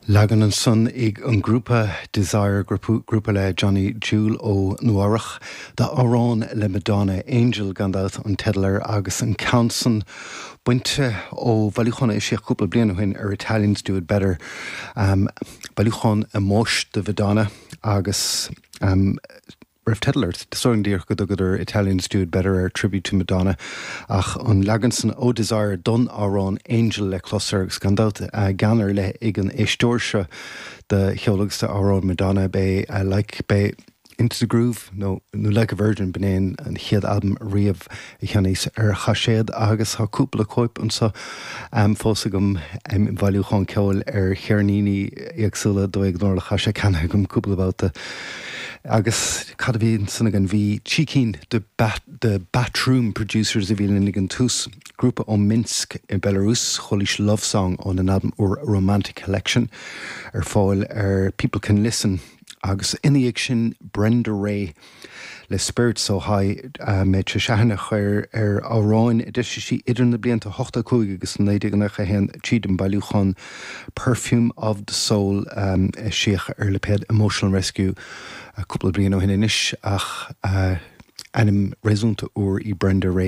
Leagan ansan ag an grúpa Desire, grúpa le Johnny Jewel ó Nua Eabhrach, d'amhrán le Madonna, Angel gan dabht an teideal air agus an ceann san bainte ó bhailiúchán a eisíodh cúpla bliain ó shin ar Italians Do It Better, bailiúchán ómóis do Mhadonna agus. raibh teideal air. Is dóigh liom díreach go dtugadar Italians Do It Better air, Tribute to Madonna, ach an leagan san ó Desire don amhrán Angel le clos air agus gan dabht gean ar leith ag an éisteoir seo do cheol agus d'amhráin Madonna. B'é Like, b'é Into the Groove nó nó Like a Virgin, b'in é an chéad albam riamh a cheannaíos ar chaiséad agus tá cúpla cóip anseo fós agam im bhailiúchán ceoil ar cheirníní éagsúla, dóigh gnórach, tá sé ceannaithe agam cúpla babhta. Agus cad a bhí ansan againn? Bhí trí cinn de The Batroom Producers a bhí linn ag an tús, grúpa ó Minsk i Belarus, chualaís Love Song óna n-albam úr Romantic Collection ar fáil ar People Can Listen. Agus ina dhiaidh sin Brenda Rae le Spirit So High, mé tar éis aithne a chur ar amhráin a d'eisigh sí idir na blianta 85 agus 1991 tríd an bailiúchán Perfume of the Soul a eisíodh ar lipéad Emotional Rescue cúpla bliain ó shin anois ach ainm réasúnta úr í Brenda Rae.